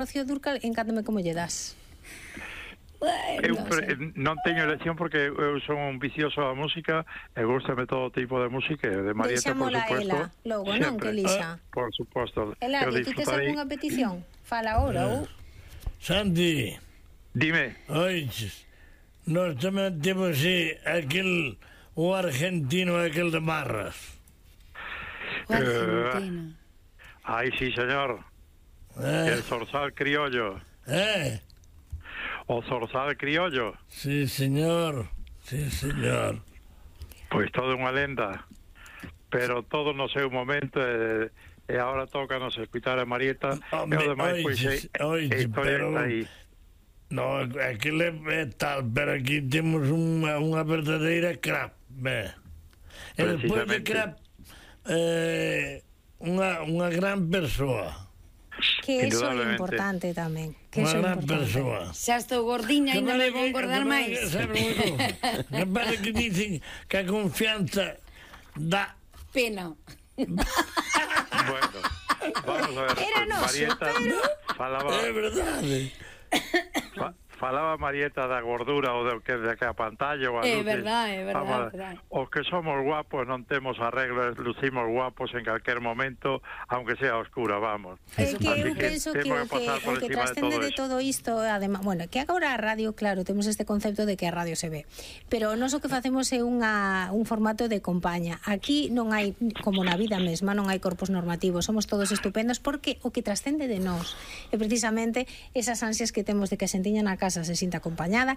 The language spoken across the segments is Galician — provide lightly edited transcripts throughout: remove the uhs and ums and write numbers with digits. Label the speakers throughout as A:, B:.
A: Rocío Dúrcal, encántame como lle das.
B: Eu non teño elección porque eu son un vicioso da música e gústame todo tipo de música, de Marieta, por
A: Deixámola
B: supuesto.
A: ela, logo, non, que elixa.
B: Por suposto.
A: Eladio, ti tes algunha petición? Fala ahora, ou...
C: Santi,
B: Dime.
C: oiches, nós tamén temos aquel, o argentino aquel de Marras.
D: O argentino.
B: Ai, sí, señor. El zorzal criollo. O zorzal criollo.
C: Sí, señor. Sí, señor.
B: Pois toda unha lenda. Pero todo no seu momento e agora toca nos escutar a Marieta. E o demais, pois,
C: pero
B: aí.
C: No, aquilo é tal, pero aquí temos unha verdadeira crap, e despois de crap unha gran persoa.
A: Que eso é importante tamén.
C: Unha gran persoa.
D: Xa estou gordiña e non me vou engordar máis.
C: Me parece que dicen que a confianza dá
D: pena.
B: Bueno, vamos a ver.
A: Era noso,
B: Marieta falaba...
C: É verdade.
B: Falaba Marieta da gordura ou de que a pantalla ou a
D: É
B: luces.
D: verdade.
B: Os que somos guapos non temos arreglo, lucimos guapos en calquer momento, aunque sea oscura, vamos.
A: É que eu penso que o que trascende de todo isto, además, bueno, que agora a radio, claro, temos este concepto de que a radio se ve, pero nós o que facemos é un formato de compaña. Aquí non hai, como na vida mesma, non hai corpos normativos, somos todos estupendos, porque o que trascende de nós é precisamente esas ansias que temos de que a xentiña na casa se sinta acompañada,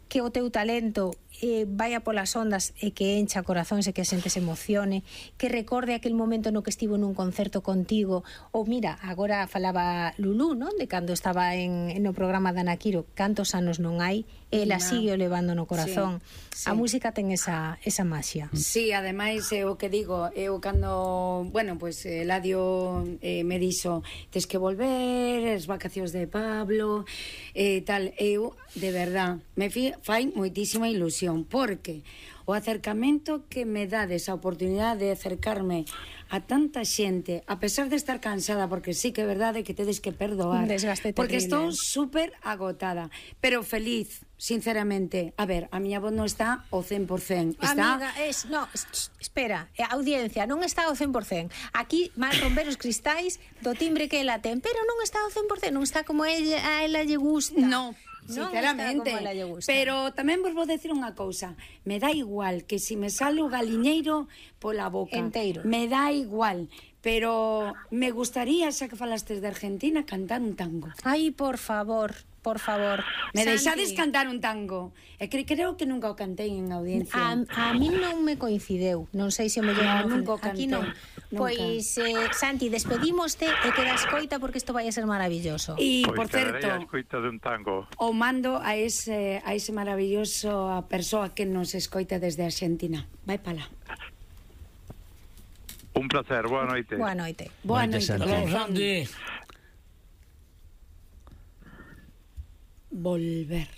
A: que o teu talento vaya polas ondas e que encha corazóns e que a xente se emocione, que recorde aquel momento no que estivo nun concerto contigo, ou mira, agora falaba Lulú, non? De cando estaba no programa de Ana Quiro, cantos anos non hai, ela sigue o levando no corazón. A música ten esa maxia.
D: Sí, ademais, o que digo, eu cando, bueno, pues Eladio me dixo, tes que volver, as vacacións de Pablo, tal, eu, de verdad, me fai moitísima ilusión, porque o acercamento que me dades a oportunidade de acercarme a tanta xente, a pesar de estar cansada, porque sí que é verdade que tedes que perdoar,
A: un desgaste terrible,
D: porque estou super agotada, pero feliz, sinceramente. A ver, a miña voz non está ao 100%. Está...
A: Amiga, espera, a audiencia non está ao 100%. Aquí van romper os cristais do timbre que ela ten, pero non está ao 100%, non está como a ela lle gusta.
D: No, sinceramente, pero tamén vos vou decir unha cousa, me dá igual que si me sale o galiñeiro pola boca,
A: enteiro,
D: me dá igual, pero me gustaría, xa que falastes de Argentina, cantar un tango.
A: Ai, por favor,
D: me deixades cantar un tango. E creo que nunca o cantei en audiencia.
A: A mí non me coincideu, non sei se o mellor
D: nunca o cantei.
A: Aquí non. Pois, Santi, despedímoste e queda escoita porque isto vai a ser maravilloso.
D: E, por certo,
B: escoita de un tango.
D: O mando a ese maravilloso persoa que nos escoita desde Argentina. Vai pala.
B: Un placer, boa noite.
A: Boa noite.
D: Boa noite,
C: Santi.
D: Volver.